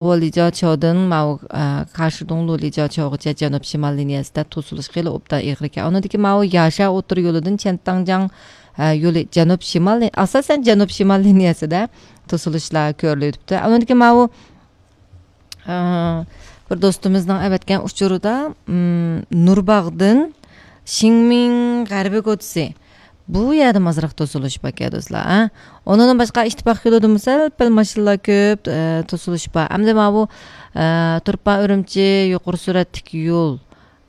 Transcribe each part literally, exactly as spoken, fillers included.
ۋولىجاچياۋدىن ماۋۇ، ئە، كاشىدۇڭلۇ لىجاچياۋغىچە جەنۇب شىمال لىنىيەسىدە توسۇلۇش خېلى ئوبدان ئېغىر ئىكەن. ئۇنىڭدىكى ماۋۇ ياشا ئوتتۇرا يولىدىن چيەنتاڭجياڭ، ئە، يولى جەنۇب شىمال لىن-، ئاساسەن جەنۇب شىمال لىنىيەسىدە توسۇلۇشلار كۆرۈلۈۋېتىپتۇ. ئۇنىڭدىكى ماۋۇ، ئە، بىر دوستىمىزنىڭ ئەۋەتكەن ئۇچۇرىدا، ئىم، نۇرباغدىن شىڭمىڭ غەربىي كوچىسى. بۇ يەردىمۇ ئازراق توسۇلۇش باركەن، دوستلار، ھە؟ ئۇنىڭدىن باشقا، ئىتتىپاق يولىدىمۇ سەل پەل ماشىنىلار كۆپ، ئە، توسۇلۇش بار. ئەمدى ماۋۇ، ئە، تۇرپان ئۈرۈمچى يۇقىرى سۈرئەتلىك يول،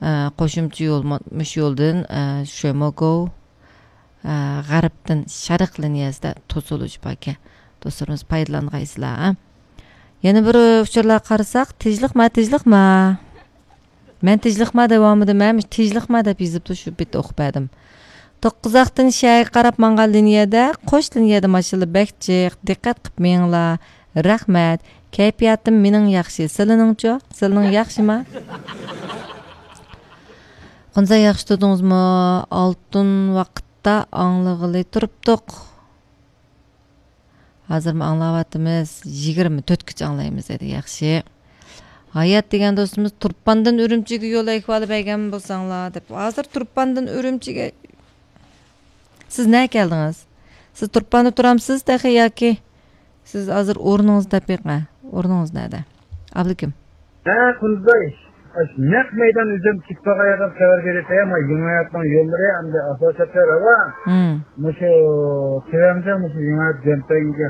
ئە، قوشۇمچە يول، مۇ-، مۇشۇ يولدىن، ئە، شۆموگوۋ، ئە، غەربتىن شەرق لىنىيەسىدە توسۇلۇش باركەن. دوستلىرىمىز پايدىلانغايسىلەر، ھە؟ يەنە بىر ئۇچۇرلارغا قارىساق، تىنچلىقما، تىنچلىقما. مەن تىنچلىقما دەۋالمىدىم، مەن تىنچلىقما دەپ يېزىپتۇ، شۇ بېتى ئوقۇپ بەردىم. توققۇزاقتىن شەھەرگە قاراپ ماڭغان لىنىيەدە، قوش لىنىيەدە ماشىنىلار بەك جىق، دىققەت قىپ مېڭىڭلار. رەھمەت. كەيپىياتىم مېنىڭ ياخشى، سىلىنىڭچۇ؟ سىلىنىڭ ياخشىما؟ قۇنزا، ياخشى تۇردىڭىزمۇ؟ ئالتۇن ۋاقىتتا ئاڭلىغىلى تۇرۇپتۇق. ھازىرمۇ ئاڭلاۋاتىمىز. يىگىرمە تۆتكىچە ئاڭلايمىز دېدى. ياخشى. ھايات دېگەن دوستىمىز، تۇرپاندىن ئۈرۈمچىگە يول ئەھۋالى بەرگەن بولساڭلار دەپ. ھازىر تۇرپاندىن ئۈرۈمچىگە، سىز نەگە كەلدىڭىز؟ سىز تۇرپاندا تۇرامسىز تېخى ياكى؟ سىز ھازىر ئورنىڭىزنى تېپىڭ، ھە؟ ئورنىڭىز نەدە؟ ئابلىكىم. ھە، قۇندىزاي. ئاش نەق مەيدان ئۆزۈم كېتىپ قالغان يەردىن خەۋەر بېرىپ، ما يېڭى ھاياتنىڭ يوللىرى ئەمدى ئاساسەتلەر راۋان. مم. مۇشۇ تۆۋەندە مۇشۇ يېڭى ھايات جەمپەيگە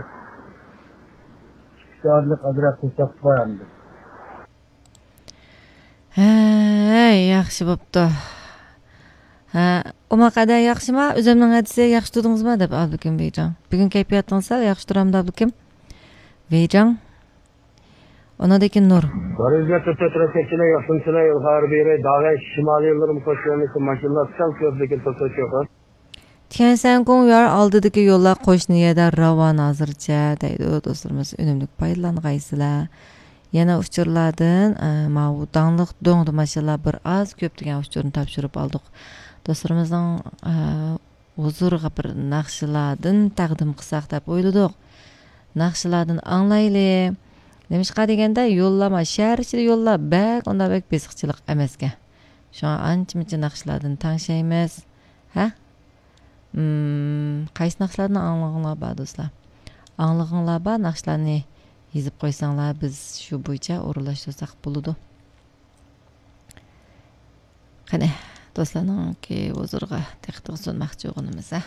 چىقىش ئارىلىق ئازراق توساق بار ئەمدى. ھەي، ياخشى بوپتۇ. ھە، ئوماق ئەدە ياخشىما؟ ئۆزۈمنىڭ ئەدىسى ياخشى تۇردىڭىزما؟ دەپ ئابلىكىم ۋېيجاڭ. بۈگۈن كەيپىياتىڭىز سەل ياخشى تۇرامدۇ ئابلىكىم؟ ۋېيجاڭ. ئۇنىڭدىن كېيىن نۇر. بارىزنى تۇتۇپ تۇرۇپ كەتسىلەر، ياخشىمۇسىلەر، ئىلغار بېرى، داغە شىمالىي يوللىرىمۇ قوشۇلمىسا، ماشىنىلار سەل كۆپ، لېكىن توسۇش يوق. تيەنشەن گوڭيۈەن ئالدىدىكى يوللار قوشنا يەردە راۋان ھازىرچە، دەيدۇ دوستلىرىمىز. ئۈنۈملۈك پايدىلانغايسىلەر. يەنە ئۇچۇرلاردىن، ئە، ماۋۇ داڭلىق دۆڭدە ماشىنىلار بىر ئاز كۆپ دېگەن ئۇچۇرنى تاپشۇرۇپ ئالدۇق. دوستلىرىمىزنىڭ، ئە، ھۇزۇرىغا بىر ناخشىلاردىن تەقدىم قىلساق دەپ ئويلىدۇق. ناخشىلاردىن ئاڭلايلى. نېمىشقا دېگەندە، يوللار، ما، شەھەر ئىچىدە يوللار بەك، ئۇنداق بەك بېسىقچىلىق ئەمەسكەن. شۇڭا ئانچە-مۇنچە ناخشىلاردىن تەڭشەيمىز. ھە؟ مم، قايسى ناخشىلارنى ئاڭلىغۇڭلار بار، دوستلار؟ ئاڭلىغۇڭلار بار، ناخشىلارنى يېزىپ قويساڭلار، بىز شۇ بويىچە ئورۇنلاشتۇرساق بولىدۇ. قېنى، دوستلارنىڭكى ھۇزۇرىغا دىققىتىڭىزنى سۇنماقچى بولغىنىمىز، ھە؟